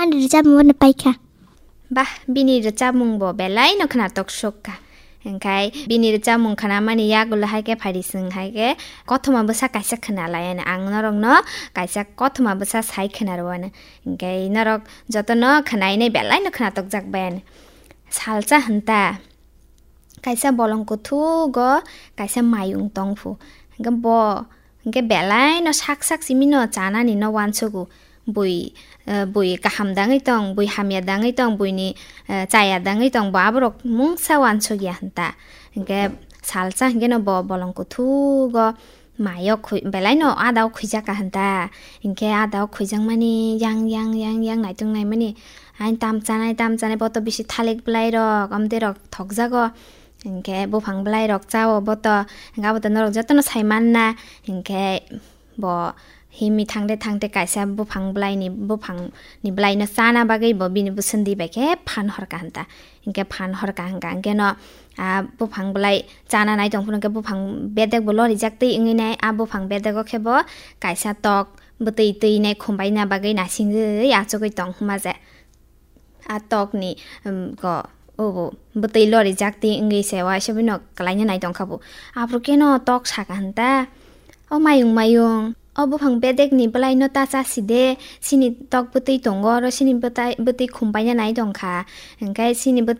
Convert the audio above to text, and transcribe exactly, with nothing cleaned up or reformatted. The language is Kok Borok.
Rwchapmung bono paikha. Bah, bini rwchapmung bo belai no khwnatok sukha. Hingkhai bini rwchapmung khwnamani yagulo hai khe phaidi swng hai khe kothoma bwsa kaisa khwnalaiano ang norokno kaisa kothoma bwsa sai khwnarwano. Hingkhai norok jotono khwnainai belai no khwnatok jak baiano. Salsa hwnta. Kaisa bolong kuthugo kaisa mayung tongphu. Hingke bo, hingke belai no sak sak simi no chanani no wansugo. Bui, eh, bui kaham dangwi tong, bui hamya dangwi tong, buini, eh, chaya dangwi tong, bo aborok mungsa wansuk ya hwnta. Hingke salsa hingke no bo bolong kuthugo mayo khui-, belai no ada o khuijak ka hwnta. Hingke ada o khuijak mani yang, yang, yang, yang naitung naimani. Ain tam chanai, tam chanai, boto bisi thalik belai rok, amtwi rok thokjago. Hingke buphang belai rok chao boto, hingke aboto norok jotono sai manna. Hingke bo himi thangde thangde kaisa buphang belai ni, buphang ni belai no chana bagwi bo bini bwswndi bai khe phan horka hwnta. Hingke phan horka hingka hingke no, ah, buphang belai chana nai tong phuru hingke buphang bedek bo lorijak twi wngwi nai. Ah, buphang bedego khe bo kaisa tok bwtwi twi nai khumbai na bagwi nasingwi achugwi tong hwnma je. A tokni, um, go, obo, bwtwi lorijak twi wngwi se waisa bino kwlaina nai tongkha bo. Aphuru keno tok saka hwnta, "O mayung, mayung, o buphang bedekni bwlaino ta chasi de, sini tok bwtwi tongo, oro sini bwtai-, bwtwi khumbaina nai tongkha." Hingkhe sini bwtwi